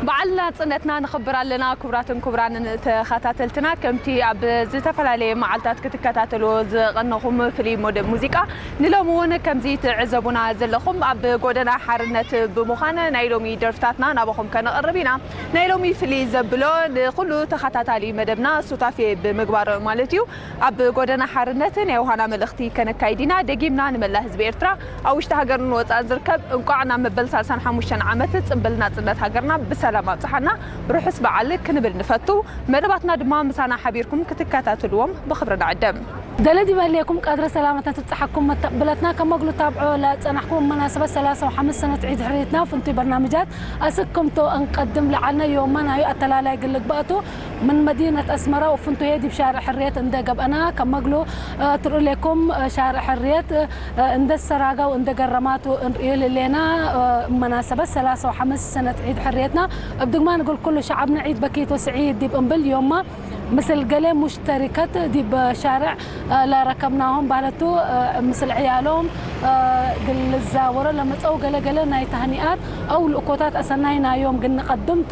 በዓል ናጽነትና ንኽብር ኣለና። ክቡራትን ክቡራንን ተኸታተልትና፣ ከምቲ ኣብ ዝተፈላለየ መዓልታት ክትከታተልዎ ዝቐነኹም ፍሉይ መደብ ሙዚቃ፣ ንሎሚ እውን ከምዚ ትዕዘቡና ዘለኹም ኣብ ጎደና ሓርነት ብምዃን ናይ ሎሚ ደርፍታትና ናባኹም ከነቕርብ ኢና። ናይ ሎሚ ፍልይ ዘብሎ ንኹሉ ተኸታታሊ መደብና ሱታፌ ብምግባር ማለት እዩ። ኣብ ጎደና ሓርነት ናይ ዮሃና መልእኽቲ ከነካይድ ኢና። ደጊምና ንመላ ህዝቢ ኤርትራ ኣብ ውሽጢ ሃገርን ወጻእን ዝርከብ እንቋዕ ናብ መበል ሰላሳን ሓሙሽተን ዓመት ጽንብል ናጽነት ሃገርና ብሰላም ኣብጽሓና ርሑስ በዓል ክንብል ንፈቱ። መደባትና ድማ ምሳና ሓቢርኩም ክትከታተልዎም ብኽብሪ ንዕድም። ደለ ዲበሌኩም ቀድረ ሰላመትና ትብጽሓኩም መተቕብለትና ከመግሉ ታብዖ ለጸናሕኩም መናሰበት ሰላሳ ወሓምስ ሰነት ዒድ ሕርየትና ፍንቱይ በርናምጃት ኣስክምቶ እንቀድም ለዓልና ዮማ ናዩ ኣተላላይ ግልግባእቱ ምን መዲነት ኣስመራ ወፍንቱየ ዲብ ሻርዕ ሕርየት እንደ ገብአና ከመግሉ ትርኡ ሌኩም ሻርዕ ሕርየት እንደ ሰራጋው እንደ ገረማቱ እንርእዩ ልሌና መናሰበት ሰላሳ ወሓምስ ሰነት ዒድ ሕርየትና እብ ድግማ ንግል ኩሉ ሸዓብና ዒድ በኪቶ ስዒድ ዲብ እምብል ዮማ ምስል ገሌ ሙሽተሪከት ዲብ ሻርዕ ለረከብናሆም ባህለቱ ምስል ዕያሎም ግልዛወሮ ለመጸው ገለገለ ናይ ታህኒኣት ኣው ልእኮታት ኣሰናይ ናዮም ግን ንቀድምቱ